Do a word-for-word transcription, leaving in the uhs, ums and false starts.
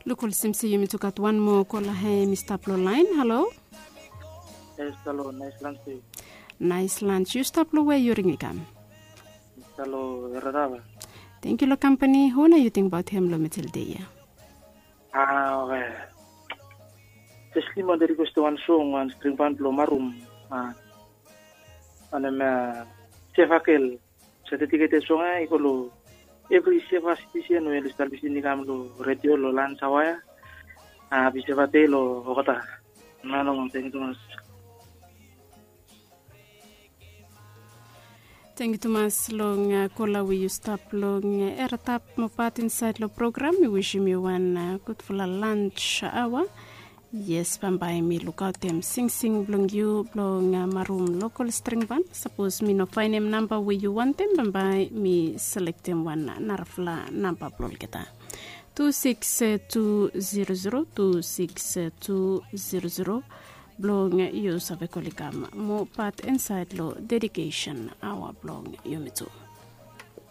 Luk olsem se yumi tu gat wan moa kola he mi stap long lain. Halo. Yes, halo, nice lunch to you. Nice lunch. Yu stap long we yu ring i kam? Halo, Rarava. Thank you long kampani. Hu na yu tingbaot hem long mitel de ya? Ah, oke. Jes lima de request wan song wan string band blong Marum. Ah, wanem, ah, Sevakel. Sa dedicate song ya i go long evri Seva citizen we oli stap lisin i kam long redio long lans awa ya. Hapi Seva dei long olgeta. Nano, thank you tumas. Thank you tumas long, ah, kola we yu stap long, ah, era tap mo pat insaed long program. Mi wisim yu wan, ah, gudfala lunch awa. Yes, bambae mi lukaotem singsing blong yu blong, ah, Marum lokal string band. Sapos mi no faenem namba we yu wantem, bambae mi selektem wan narafala namba blong olgeta. Tu sikis tu zero zero, tu sikis tu zero zero. Blong yu save kol i kam mo pat insaed long dedikesen awa blong yumi tu.